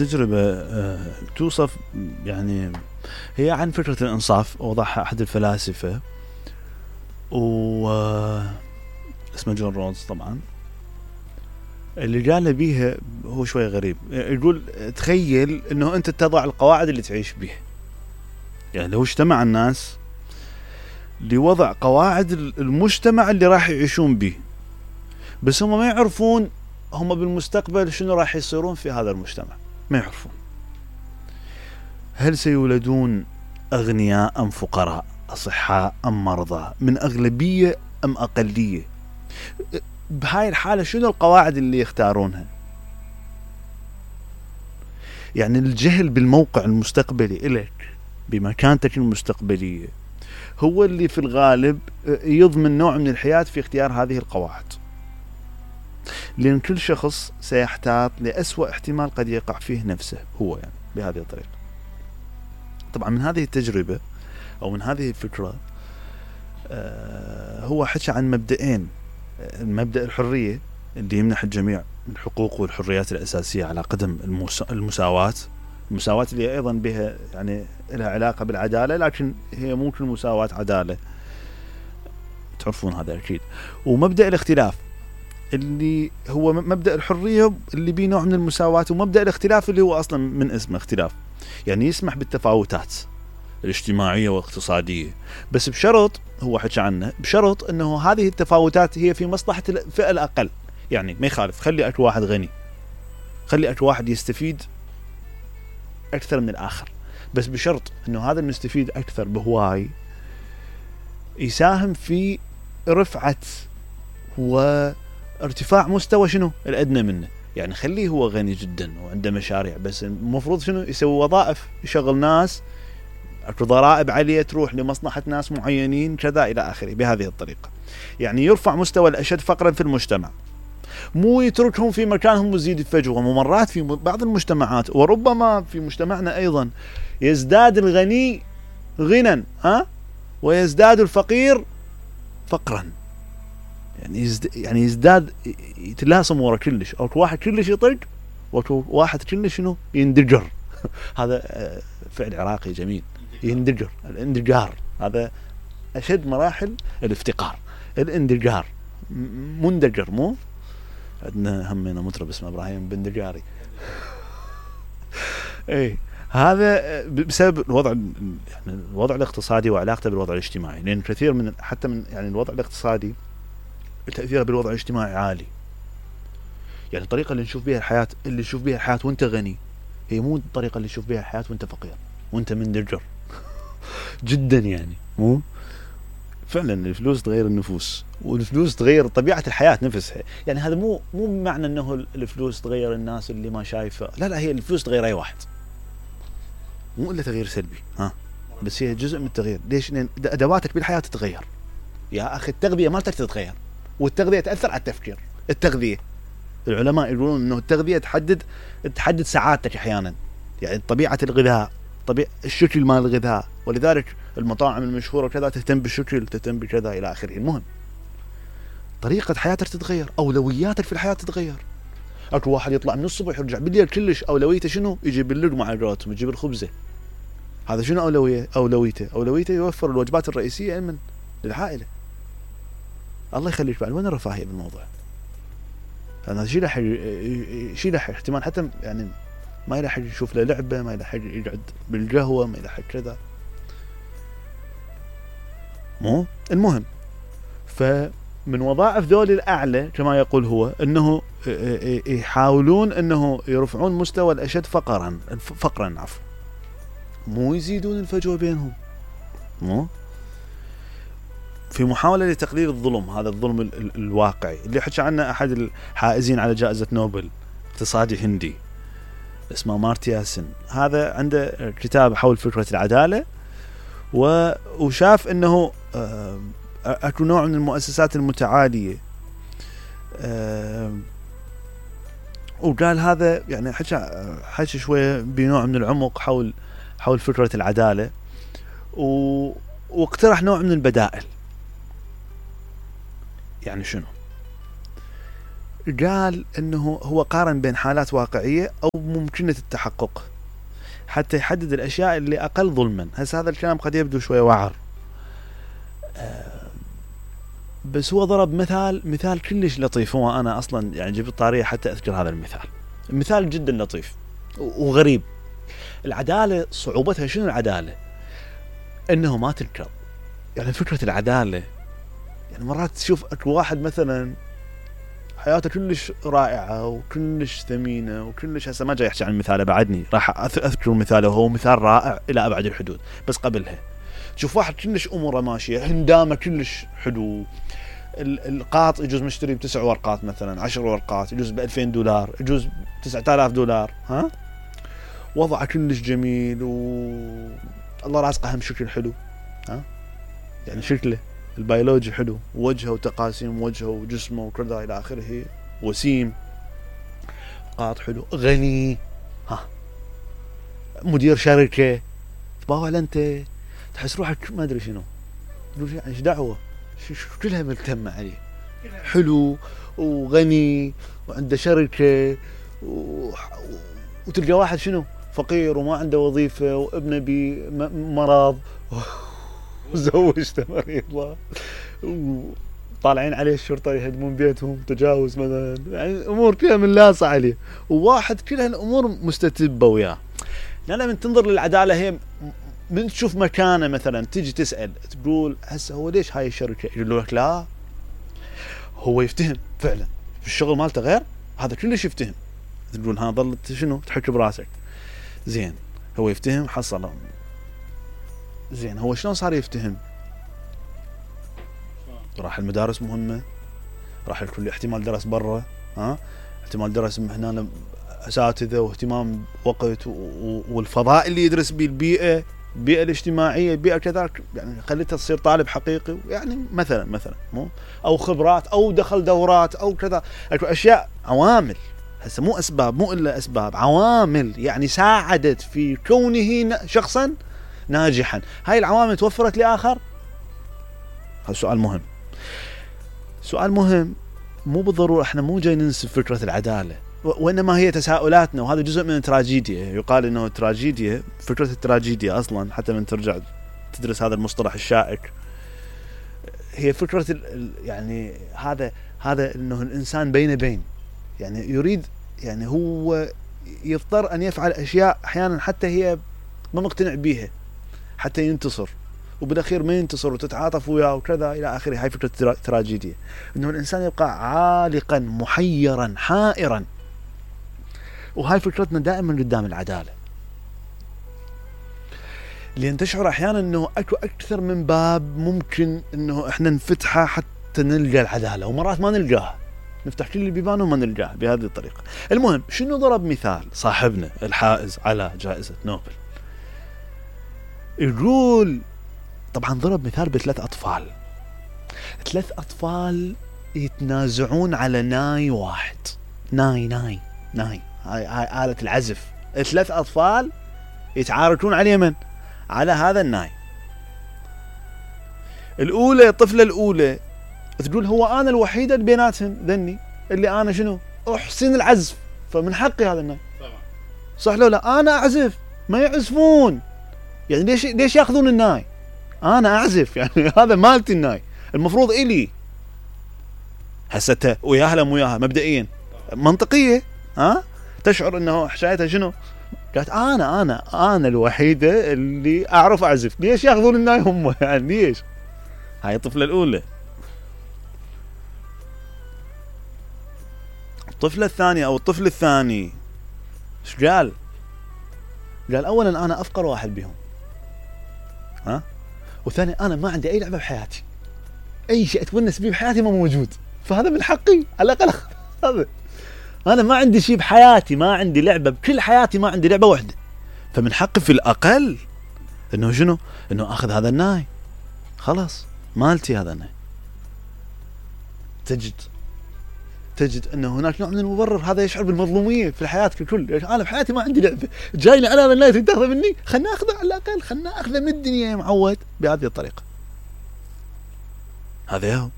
التجربة توصف يعني هي عن فكرة الإنصاف، وضعها أحد الفلاسفة اسمه جون رولز طبعا. اللي قال بيها هو شوي غريب، يقول تخيل انه انت تضع القواعد اللي تعيش بيها. يعني لو اجتمع الناس لوضع قواعد المجتمع اللي راح يعيشون به، بس هم ما يعرفون هم بالمستقبل شنو راح يصيرون في هذا المجتمع، ما يعرفون هل سيولدون أغنياء أم فقراء، أصحاء أم مرضى، من أغلبية أم أقلية. بهاي الحالة شنو القواعد اللي يختارونها؟ يعني الجهل بالموقع المستقبلي إلك بمكانتك المستقبلية هو اللي في الغالب يضمن نوع من الحياة في اختيار هذه القواعد، لأن كل شخص سيحتاط لأسوأ احتمال قد يقع فيه نفسه هو، يعني بهذه الطريقة. طبعا من هذه التجربة أو من هذه الفكرة هو حكى عن مبدئين: المبدأ الحرية اللي يمنح الجميع الحقوق والحريات الأساسية على قدم المساواة اللي أيضا بها يعني لها علاقة بالعدالة، لكن هي مو كل مساواة عدالة، تعرفون هذا أكيد. ومبدأ الاختلاف اللي هو مبدأ الحرية اللي بيه نوع من المساواة، ومبدأ الاختلاف اللي هو أصلا من اسمه اختلاف، يعني يسمح بالتفاوتات الاجتماعية والاقتصادية، بس بشرط، هو حكى عنه، بشرط أنه هذه التفاوتات هي في مصلحة الفئة الأقل. يعني ما يخالف خلي أكو واحد غني، خلي أكو واحد يستفيد أكثر من الآخر، بس بشرط أنه هذا المستفيد أكثر بهواي يساهم في رفعة وارتفاع مستوى شنو الأدنى منه. يعني خليه هو غني جدا وعنده مشاريع، بس المفروض شنو يسوي وظائف، يشغل ناس، اكو ضرائب عالية تروح لمصلحة ناس معينين كذا إلى آخره، بهذه الطريقة. يعني يرفع مستوى الأشد فقرا في المجتمع، مو يتركهم في مكانهم ويزيد الفجوة. ومرات في بعض المجتمعات وربما في مجتمعنا أيضا يزداد الغني غنى ويزداد الفقير فقرا، يعني يزداد، يتلاصم ورا كلش، أو واحد كلش يطق وواحد كلش شنو يندجر. هذا فعل عراقي جميل، يندجر، الاندجار هذا أشد مراحل الافتقار، الاندجار، مندجر. مو عندنا همنا مطرب اسمه إبراهيم بندجاري. ايه، هذا بسبب الوضع، يعني الوضع الاقتصادي وعلاقته بالوضع الاجتماعي، لأن كثير من حتى من يعني الوضع الاقتصادي تأثيره بالوضع الاجتماعي عالي. يعني الطريقة اللي نشوف بها الحياة، اللي تشوف بها الحياة وانت غني، هي مو الطريقة اللي تشوف بها الحياة وانت فقير وانت مندجر جدا. يعني مو فعلا الفلوس تغير النفوس، والفلوس تغير طبيعة الحياة نفسها. يعني هذا مو بمعنى انه الفلوس تغير الناس اللي ما شايفه، لا، هي الفلوس تغير اي واحد، مو الا تغيير سلبي، بس هي جزء من التغيير. ليش؟ لان ادواتك بالحياة تتغير يا اخي. التغذية مالتك تتغير، والتغذية تأثر على التفكير. التغذية، العلماء يقولون انه التغذية تحدد سعادتك احيانا، يعني طبيعة الغذاء، الشكل مال الغذاء، ولذلك المطاعم المشهورة كذا تهتم بالشكل، تهتم بكذا إلى آخره. المهم طريقة حياتك تتغير، أولوياتك في الحياة تتغير. أكو واحد يطلع من الصبح يرجع بالليل كلش أولويته شنو؟ يجيب اللقمة على قولتهم، يجيب الخبزة. هذا شنو أولويته يوفر الوجبات الرئيسية من للعائلة. الله يخليك بعد، وين الرفاهية بالموضوع؟ هذا شيء لح احتمال حتى يعني ما يلحق يشوف له لعبة، ما يلحق يقعد بالقهوة، ما يلحق كذا. مو المهم، فمن وظائف ذول الأعلى كما يقول هو أنه يحاولون أنه يرفعون مستوى الأشد فقرا، مو يزيدون الفجوة بينهم. مو في محاولة لتقليل الظلم، هذا الظلم الواقعي اللي حكى عنه أحد الحائزين على جائزة نوبل، اقتصادي هندي اسمه مارتيا سن. هذا عنده كتاب حول فكرة العدالة، وشاف انه اكو نوع من المؤسسات المتعالية، وقال هذا يعني حكى شوية بنوع من العمق حول فكرة العدالة، واقترح نوع من البدائل. يعني شنو؟ قال انه هو قارن بين حالات واقعية او ممكنة التحقق حتى يحدد الاشياء اللي اقل ظلما. هسه هذا الكلام قد يبدو شوية وعر، بس هو ضرب مثال كلش لطيف. هو انا اصلا يعني جبت طارية حتى اذكر هذا المثال جدا لطيف وغريب. العدالة صعوبتها شنو؟ العدالة انه ما تنكر. يعني فكرة العدالة، يعني مرات تشوف اكو واحد مثلا حياته كلش رائعة وكلش ثمينة وكلش، هسه ما جاي احكي عن مثاله بعدني، راح اذكر مثاله وهو مثال رائع الى ابعد الحدود. بس قبلها تشوف واحد كلش اموره ماشية، هندامه كلش حلو، القاط يجوز مشتري ب9 ورقات مثلا، 10 ورقات يجوز ب$2000، يجوز $9000، ها، وضعه كلش جميل والله رازقه هم شكل حلو، ها، يعني شكله البيولوجي حلو، وجهه وتقاسيم وجهه وجسمه وكذا الى اخره، وسيم، قاط حلو، غني، ها، مدير شركه، تباوع انت تحس روحك ما ادري شنو، ايش دعوه، كلها ملتمه عليه، حلو وغني وعنده شركه وتلقى واحد شنو فقير وما عنده وظيفه وابنه بمرض وزوجته مريضه وطالعين عليه الشرطه يهدمون بيتهم، تجاوز مثلا، يعني امور كلها منلاصه عليه، وواحد كل هالامور مستتبه وياه. لا من تنظر للعداله هي من تشوف مكانه مثلا تيجي تسال تقول هسه هو ليش هاي الشركه؟ يقول لك لا هو يفتهم فعلا في الشغل مالته غير هذا كلش يفتهم. تقول ها ظلت شنو تحك براسك، زين هو يفتهم حصل، زين هو شلون صار يفتهم؟ راح المدارس مهمه، راح الكل احتمال درس برا، ها، احتمال درس هنا اساتذه واهتمام وقت والفضاء اللي يدرس به، البيئه الاجتماعيه، البيئه كذا، يعني خليته تصير طالب حقيقي، يعني مثلا مو او خبرات او دخل دورات او كذا، اكو اشياء عوامل، هسه مو اسباب، مو الا اسباب، عوامل يعني ساعدت في كونه شخصا ناجحا. هاي العوامل توفرت لاخر؟ هذا سؤال مهم. مو بالضروره احنا مو جاي ننسف فكره العداله، وانما هي تساؤلاتنا، وهذا جزء من التراجيديا. يقال انه التراجيديا، فكره التراجيديا اصلا حتى من ترجع تدرس هذا المصطلح الشائك، هي فكره يعني هذا انه الانسان بين يعني يريد، يعني هو يضطر ان يفعل اشياء احيانا حتى هي ما مقتنع بيها حتى ينتصر، وبالاخير ما ينتصر وتتعاطف وياه وكذا الى اخره. هاي فكره التراجيديا، انه الانسان يبقى عالقا محيرا حائرا، وهاي فكرتنا دائما قدام العداله، لان تشعر احيانا انه اكو اكثر من باب ممكن انه احنا نفتحه حتى نلقى العداله، ومرات ما نلقاها، نفتح كل البيبان وما نلقاها بهذه الطريقه. المهم شنو ضرب مثال صاحبنا الحائز على جائزه نوبل، يقول طبعا ضرب مثال ب3 أطفال، 3 أطفال يتنازعون على ناي واحد، ناي هاي آلة العزف، 3 أطفال يتعاركون على اليمن على هذا الناي. الطفلة الأولى تقول هو أنا الوحيدة بيناتهم ذني اللي أنا شنو أحسن العزف، فمن حقي هذا الناي. صح لو لا؟ أنا أعزف ما يعزفون، يعني ليش ياخذون الناي؟ أنا أعزف، يعني هذا مالتي الناي، المفروض إلي. هسه وياها لا وياها مبدئيا منطقية، ها، تشعر انه حشايتها شنو؟ قالت انا الوحيدة اللي اعرف اعزف، ليش ياخذون الناي هم؟ يعني ليش؟ هاي الطفلة الاولى. الطفلة الثانية او الطفل الثاني ايش قال؟ قال اولا انا افقر واحد بهم، ها، وثاني انا ما عندي اي لعبة بحياتي، اي شيء اتونس به بحياتي ما موجود، فهذا من حقي على الاقل هذا. انا ما عندي شيء بحياتي، ما عندي لعبة بكل حياتي، ما عندي لعبة واحدة، فمن حقي في الاقل انه شنو؟ انه اخذ هذا الناي، خلاص مالتي هذا الناي. تجد انه هناك نوع من المبرر، هذا يشعر بالمظلومية في الحياة ككل. انا بحياتي ما عندي لعبة، جاي لي على هذا الناي تاخذه مني، خلنا اخذه على الاقل، خلنا اخذه من الدنيا يا معود بهذه الطريقة. هذا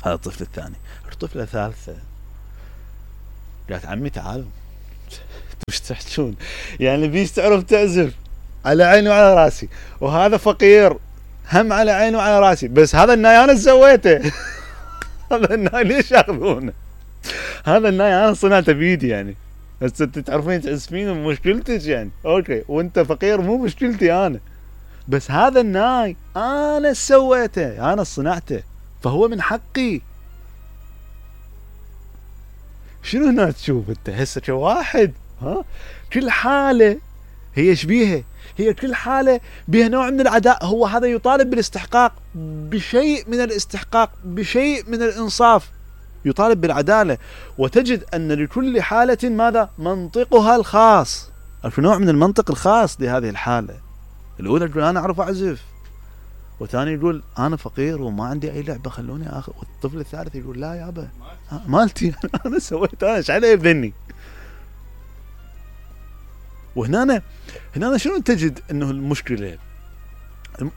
الطفل الثاني. الطفلة الثالثة قالت عمي تعالوا وش تحجون يعني بيش تعرف تعزف على عيني وعلى راسي وهذا فقير هم على عيني وعلى راسي بس هذا الناي انا سويته هذا الناي ليش ياخذونه هذا الناي انا صنعته بيدي يعني بس انت تعرفين تعزفين مشكلتك يعني اوكي وانت فقير مو مشكلتي انا بس هذا الناي انا سويته انا صنعته فهو من حقي. شنو هنا تشوف انت هسه كواحد ها كل حالة هي شبيهة هي كل حالة بها نوع من العداء هو هذا يطالب بالاستحقاق بشيء من الاستحقاق بشيء من الانصاف يطالب بالعدالة وتجد ان لكل حالة ماذا منطقها الخاص في نوع من المنطق الخاص لهذه الحالة. الاولى تقول انا اعرف اعزف والثاني يقول انا فقير وما عندي اي لعبة خلوني اخذ والطفل الثالث يقول لا يابا مالتي انا سويت انا ايش علي بذني. وهنا شنو تجد انه المشكلة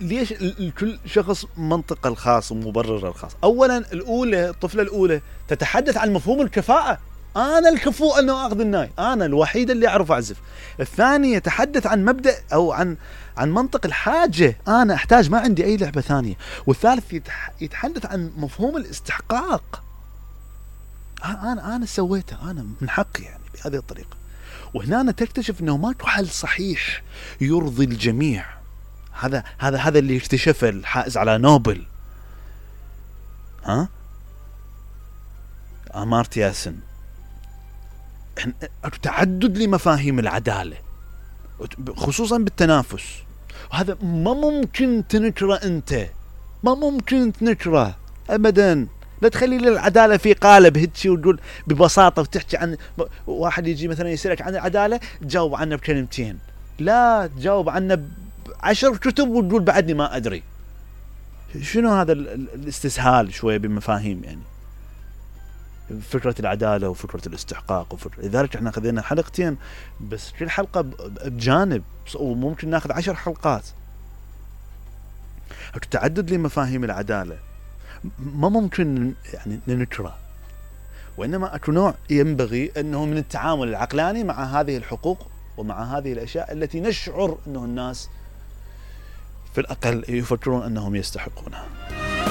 ليش كل شخص منطقه الخاص ومبرره الخاص. اولا الاولى الطفلة الاولى تتحدث عن مفهوم الكفاءة انا الكفؤ انه اخذ الناي انا الوحيد اللي اعرف اعزف. الثاني يتحدث عن مبدأ او عن منطق الحاجة انا احتاج ما عندي اي لعبة ثانية. والثالث يتحدث عن مفهوم الاستحقاق انا سويته انا من حقي يعني بهذه الطريقة. وهنا تكتشف انه ماكو حل صحيح يرضي الجميع. هذا اللي اكتشفه الحائز على نوبل أمارتيا سن تعدد لمفاهيم العدالة خصوصا بالتنافس وهذا ما ممكن تنكره انت ما ممكن تنكره ابدا. لا تخلي العدالة في قالب هيك وتقول ببساطة وتحكي عن واحد يجي مثلا يسألك عن العدالة تجاوب عنه بكلمتين لا تجاوب عنه 10 كتب وتقول بعدني ما أدري. شنو هذا الاستسهال شوية بمفاهيم يعني فكرة العدالة وفكرة الاستحقاق لذلك احنا خذينا حلقتين بس كل حلقة بجانب وممكن ناخذ 10 حلقات. التعدد لمفاهيم العدالة ما ممكن يعني ننكره وإنما أكو نوع ينبغي أنه من التعامل العقلاني مع هذه الحقوق ومع هذه الأشياء التي نشعر أنه الناس في الأقل يفكرون أنهم يستحقونها.